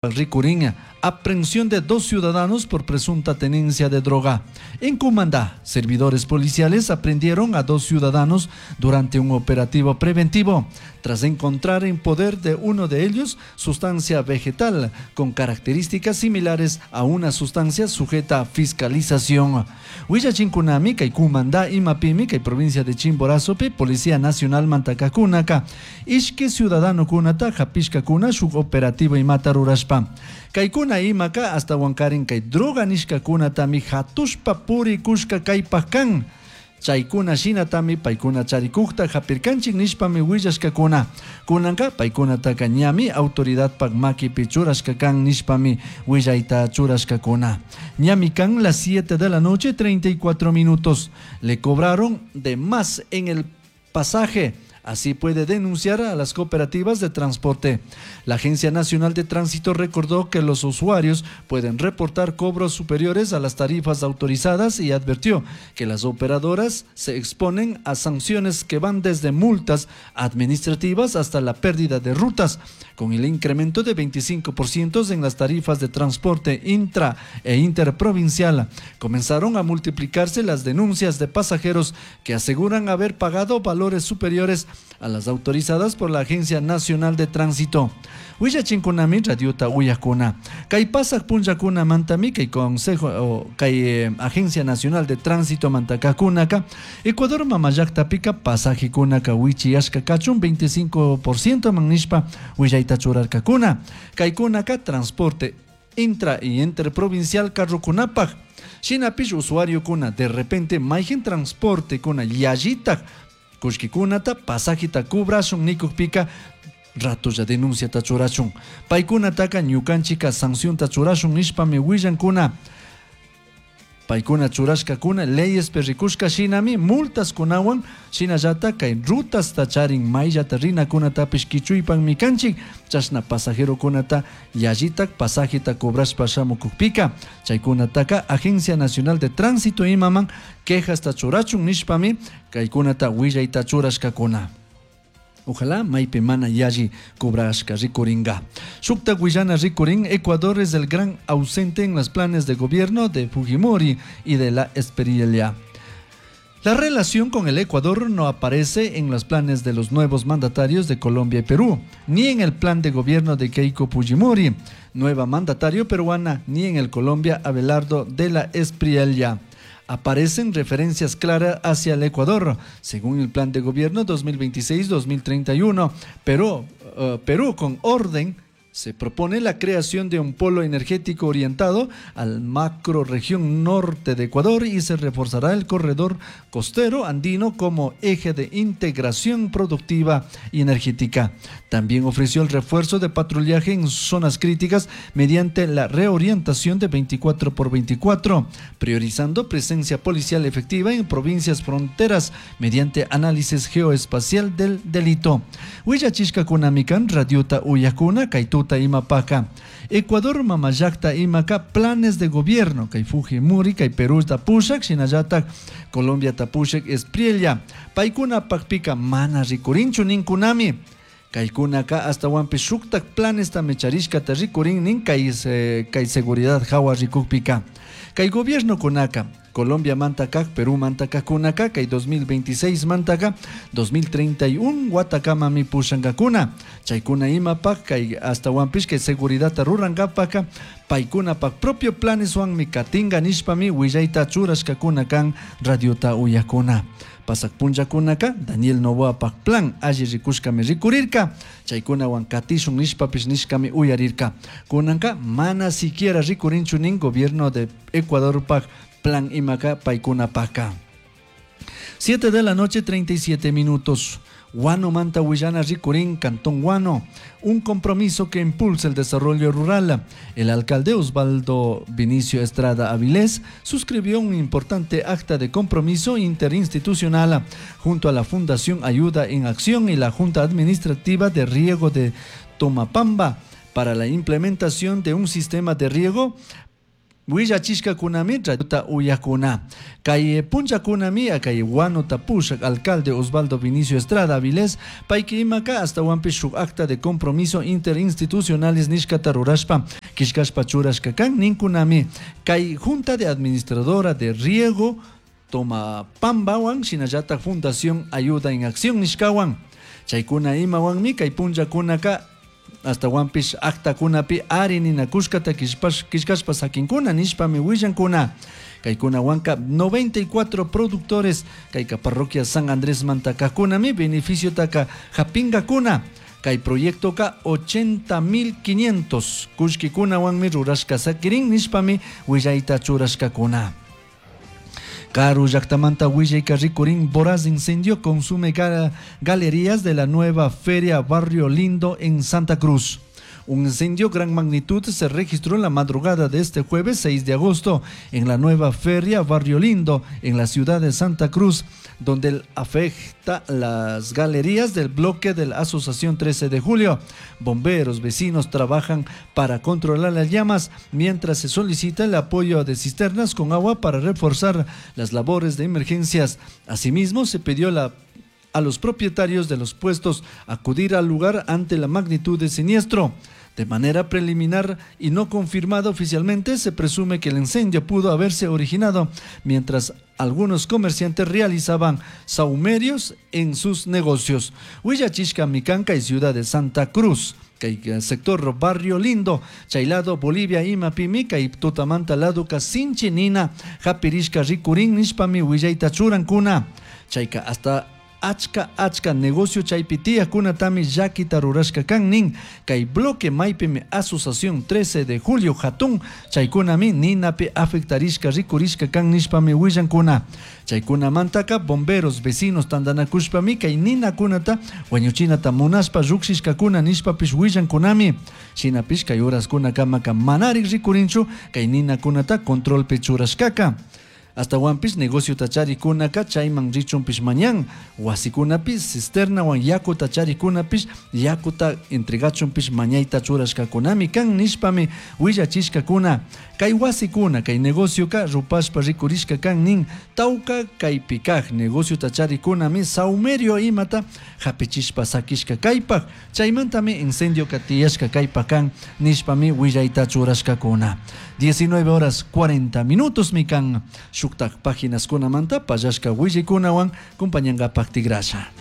Ricurín, aprehensión de dos ciudadanos por presunta tenencia de droga. En Cumandá, servidores policiales aprendieron a dos ciudadanos durante un operativo preventivo, tras encontrar en poder de uno de ellos sustancia vegetal con características similares a una sustancia sujeta a fiscalización. Huillachinkunami, kay Cumandá, Imapimi, kay provincia de Chimborazopi, Policía Nacional Mantakakunaka, ishki ciudadano kunata, hapishkakuna, shuk operativo imata rurashpa. Kaykuna imaka hasta wankarin kay droga nishkakunatami hatushpa purikushka kaypaj kan. Chaykuna shinatami paykuna charikukta hapirkanchik nishpami willashkakuna. Kunanka paykunataka ñami autoridadpak makipi churashka kan nishpami willayta churashkakuna. Ñami kan las 7 de la noche 34 minutos. Le cobraron de más en el pasaje. Así puede denunciar a las cooperativas de transporte. La Agencia Nacional de Tránsito recordó que los usuarios pueden reportar cobros superiores a las tarifas autorizadas y advirtió que las operadoras se exponen a sanciones que van desde multas administrativas hasta la pérdida de rutas, con el incremento de 25% en las tarifas de transporte intra e interprovincial. Comenzaron a multiplicarse las denuncias de pasajeros que aseguran haber pagado valores superiores a las autorizadas por la Agencia Nacional de Tránsito. Willachinkunami radiota uyakuna. Kay pasak punllakuna mantami kay Consejo o kay Agencia Nacional de Tránsito mantakakunaka Ecuador mamallaqtapika pasajekunaka wichiyashka kachun 25% man nishpa willayta churarkakuna. Kaykunaka transporte intra y interprovincial carrokunapaj. Shinapish usuariokuna de repente mayqin transporte kuna yallitaj kullkikunata pasajita cobrashun nikukpika ratolla denunciata churashun. Paykunataka ñukanchika sancionta churashun nishpami willankuna. Paykuna churashkakuna leyes rikushka shinami multas kunawan shinallata kay rutasta charin mayllata rinakunatapish kichuypanmi kanchik chashna pasajerokunata yallitak pasajita cobrashpa shamukukpika chaykunataka Agencia Nacional de Tránsito imaman quejasta churachun nishpami kaykunata willayta churashkakuna. Ojalá maypi mana yalli cobrashka rikuringa. Shukta willana rikurin, Ecuador es el gran ausente en los planes de gobierno de Fujimori y de la Espriella. La relación con el Ecuador no aparece en los planes de los nuevos mandatarios de Colombia y Perú, ni en el plan de gobierno de Keiko Fujimori, nueva mandatario peruana, ni en el Colombia Abelardo de la Espriella. Aparecen referencias claras hacia el Ecuador, según el plan de gobierno 2026-2031, pero Perú con orden se propone la creación de un polo energético orientado al macro región norte de Ecuador y se reforzará el corredor costero andino como eje de integración productiva y energética. También ofreció el refuerzo de patrullaje en zonas críticas mediante la reorientación de 24x24, priorizando presencia policial efectiva en provincias fronteras mediante análisis geoespacial del delito. Willachishkakunamikan radiota uyakuna kaytuta imapaka. Ecuador mamallaqta imaka planes de gobierno kay Fujimori kay Perú tapushak shinallatak Colombia tapushak Espriella paykuna pakpika mana rikurinchu ninkunami. Kaykunaka astawanpish shuktak planes tamicharishkata rikurin nin kay seguridad hawa rikukpika. Kay gobierno kunaka Colombia mantaka, Perú mantaka kunaka, kay 2026 mantaka, 2031 watakamami pushankakuna. Chaykuna imapak kay astawanpish kay seguridadta rurankapaka paykunapak propio planeswanmi katinka nishpami willayta churashkakuna kan radiota uyakuna. Pasak punllakunaka Daniel Noboapak plan alli rikushkami rikurirka chaykunawan katishun nishpapish nishkami uyarirka. Kunanka mana siquiera rikurinchu nin gobierno de Ecuadorpak plan imaka paykunapaka. 7 de la noche 37 minutos. Guano Manta Huillana Ricurín, Cantón Guano, un compromiso que impulsa el desarrollo rural. El alcalde Osvaldo Vinicio Estrada Avilés suscribió un importante acta de compromiso interinstitucional junto a la Fundación Ayuda en Acción y la Junta Administrativa de Riego de Tomapamba para la implementación de un sistema de riego Willachishkakunami radiota uyakuna. Kay punchakunami kay Huánota pushak alcalde Osvaldo Vinicio Estrada Avilés payki imaka astawanpish shuk acta de compromiso interinstitucionales nishkata rurashpa killkashpa churashka kan ninkunami. Kay Junta de Administradora de Riego Tomapambawan shinallatak Fundación Ayuda en Acción nishkawan. Chaykuna imawanmi kay punchakunaka astawanpish actakunapi ari ninakushkata killkashpa sakinkuna nishpami willankuna. Kaykunawanka 94 productores kayka parroquia San Andrés mantakakunami beneficiotaka hapingakuna. Kay proyectoka 80.500 kullkikunawanmi rurashka sakirin nishpami willayta churashkakuna. Karu llaktamanta willayka rikurin voraz incendio consume galerías de la nueva feria Barrio Lindo en Santa Cruz. Un incendio gran magnitud se registró en la madrugada de este jueves 6 de agosto en la nueva feria Barrio Lindo en la ciudad de Santa Cruz, donde afecta las galerías del bloque de la Asociación 13 de Julio. Bomberos, vecinos trabajan para controlar las llamas mientras se solicita el apoyo de cisternas con agua para reforzar las labores de emergencias. Asimismo, se pidió a los propietarios de los puestos acudir al lugar ante la magnitud del siniestro. De manera preliminar y no confirmada oficialmente, se presume que el incendio pudo haberse originado mientras algunos comerciantes realizaban sahumerios en sus negocios. Huillachishka, Micanca y Ciudad de Santa Cruz. Kay sector Barrio Lindo, Chaylado, Bolivia, imapimi, kay tutamanta laduka sinchi nina, hapirishka rikurin nishpami willayta churankuna. Chayka hasta achka achka negocio chaypi tiyakkunatami llakita rurashka kan nin. Kay bloque maypimi Asociación 13 de Julio hatun chaykunami ninapi afectarishka rikurishka kan nishpami willankuna. Chaykunamantaka bomberos vecinos tantanakushpami kay ninakunata wañuchinata munashpa llukshishkakuna nishpapish willankunami. Shinapish kay horaskunakamaka manarik rikurinchu kay ninakunata controlpi churashkaka. Astawanpish negociota charikunaka chayman richunpish mañan wasikunapish cisternawan yakuta charikunapish yakuta entregachunpish mañayta churashkakunami kan nishpami willachishkakuna. Kay wasikuna kay negocioka rupashpa rikurishka kan nin tawka kaypi kaj negociota charikunami saumerio imata hapichishpa sakishka kaypaj chaymantami incendioka tiyashka kaypa kan nishpami willayta churashkakuna. 19 horas 40 minutos mi kan shuktak páginas kunamanta pallashka willaykunawan compañankapak tigrasha.